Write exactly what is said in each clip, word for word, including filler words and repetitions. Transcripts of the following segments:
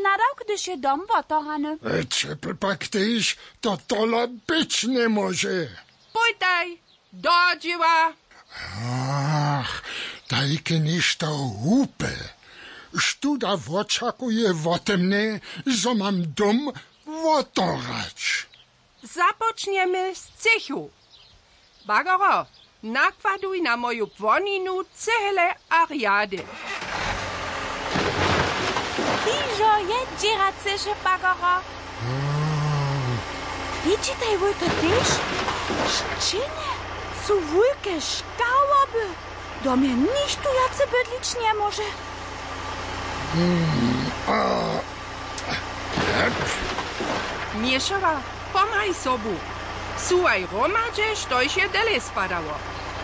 Nadawk, hdyž je dom wotorany. Ćepl pak tež, to tola być njemóže. Pójtaj do dźěła. Ach, tajke něšto hłupe. Štó da wočakuje wótemnje, zo mam dom wotorać? Započnjemy z třěchu. Bagaro, nakładuj na moju płoninu cehle a rjady. Hižo je dźěraceše, Bagaro. Widźitaj wój to tež? Sćěnje su wulke škałoby. Dom je nichtó wjace bydlić njemóže. Měšała, pomhaj sobu. Suwaj hromadźe, štož je dele spadało.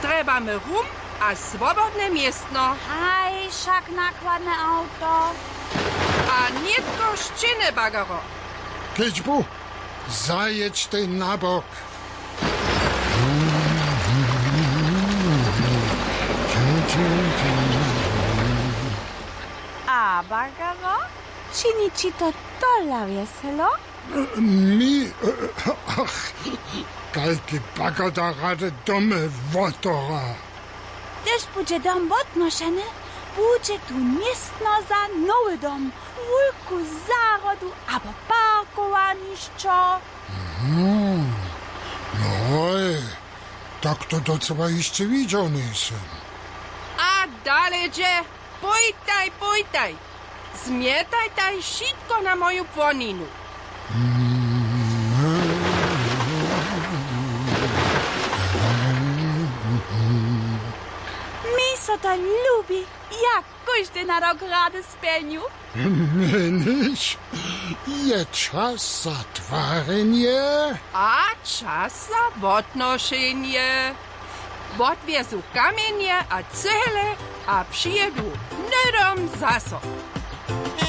Trjebamy rum a swobodne městno. Haj, wšak nakładne awto. A nětko sćěnje, Bagaro. Kedźbu, zajědźtej na bok. A, Bagaro, čini ći to tola wjeselo? Mi, ach, kajki Bagaro da rady domy wotora. Hdyž budźe dom wotnošeny, budźe tu městno za nowy dom, wulku zahrodu abo parkowanišćo. Mhm. No hoj, tak to docyła hišće widźał njejsym. A dale dźe, pójtaj, pójtaj. Zmjetajtaj wšitko na moju płoninu. Mi so to lubi, jak kóždy nadawk rady spjelnju. Měniš, je čas za twarjenje. A čas za wotnošenje. Wotwjezu kamjenje a cehle a přijědu hnydom zaso.